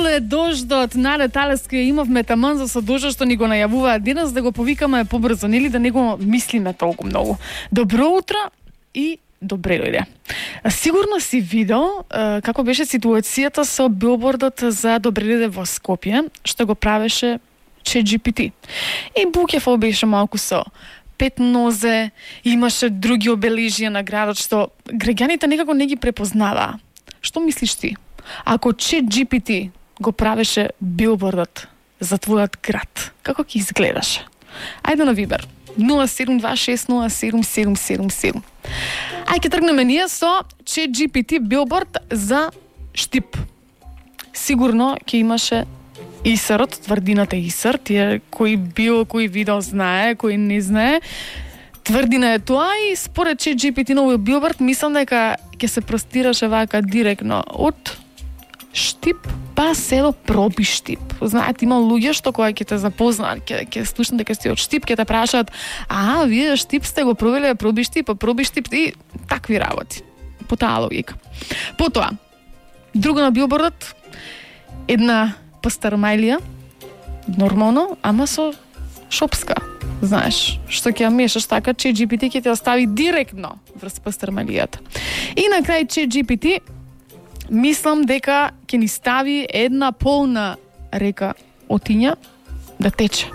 Леле, дождот, наре талеска имавме таман за дождот што ни го најавуваат денес, да го повикаме побрзо, нели да не го мислиме толку многу. Добро утро и добре дојде. Сигурно си видел како беше ситуацијата со билбордот за добре дојде во Скопје, што го правеше ChatGPT. И Букефол беше малку со 5 нозе, имаше други обележија на градот што граѓаните некако не ги препознаваа. Што мислиш ти? Ако ChatGPT го правеше билбордот за твојот град, како ќе изгледаше? Ајде на Вибер 0726077777. Ај ќе тргнеме ние со ChatGPT билборд за Штип. Сигурно ќе имаше ИСР-от, тврдината ИСР, тие кој бил, кој видел знае, кој не знае. Тврдина е тоа и според ChatGPT новиот билборд мислам дека ќе се простираше вака директно од Штип па село Пробиштип. Знаете, има луѓе што кога ќе те запознаат, ќе слушнат дека си од Штип, ќе те прашаат: "А, вие Штип сте го провеле Пробиштип, а Пробиштип и такви работи." По таа логика. Потоа, друго на билбордот, една пастармајлија, нормално, ама со шопска. Знаеш, што ќе ја мешаш така, ChatGPT ќе те остави директно врз пастармајлијата. И на крај ChatGPT мислам дека ќе ни стави една полна река отиња да тече.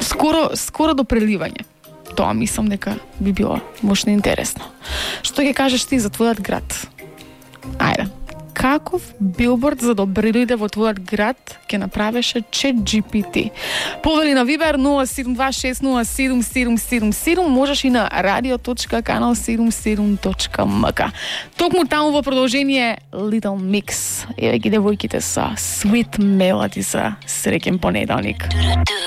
Скоро до преливање. Тоа мислам дека би било можно интересно. Што ќе кажеш ти за твојот град? Ајде. Каков билборд за добре дојде во твојот град ќе направеше ChatGPT? Повели на Вибер 0726077777, можеш и на radio.kanal77.mk. Токму таму во продолжение Little Mix. Еве ги девојките со Sweet Melody за среќен понеделник.